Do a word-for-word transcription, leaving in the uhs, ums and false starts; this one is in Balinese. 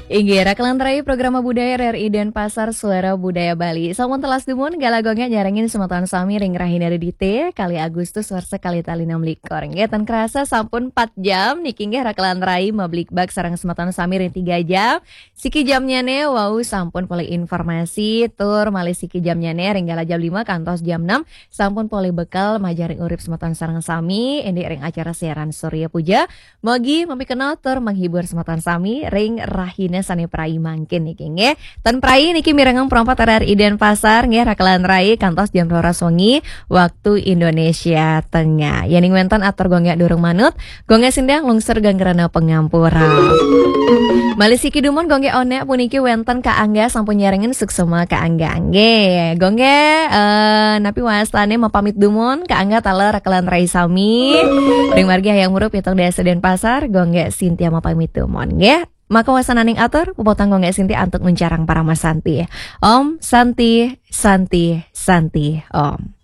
Inggih, rakelan rai program budaya R R I Denpasar, Suara Budaya Bali. Sampun telas dumun, gala Gonggé nyarengin semeton sami ring rahina Redité, kalih Agustus warsa kalih tali enam likur. Nggih, tan kerasa sampun empat jam niki nggih rakelan rai mabligbagan sareng semeton sami ring tiga jam. Siki jamnyané wau sampun polih informasi, tur malih siki jamnyané ring gala jam lima kantos jam enam sampun polih bekal majeng ring urip semeton sareng sami, indik ring acara siaran Surya Puja. Mogi mapikenoh tur menghibur semeton sami ring rahina sané praya mangkin niki nggih. Tan praya niki mirengang Pro empat R R I Denpasar nggih, rakelan rai kantos jam roras wengi waktu Indonesia Tengah. Yéning wénten atur Gonggé durung manut, Gonggé Sinta nglungsur geng rena pangampura. Malih siki dumun Gonggé Onék puniki wénten Ka Angga, sampun nyarengin, suksma Ka Angga nggih. Gonggé, eh, napi wastané mapamit dumun, Ka Angga taler rakelan rai sami. Ring margi Hayam Wuruk pitung dasa Denpasar, Gonggé Sinta mapamit dumun nggih. Maka wasananing atur, puputang Gonggé Sinta antuk nguncarang parama santi. Om Santi, Santi, Santi, Om.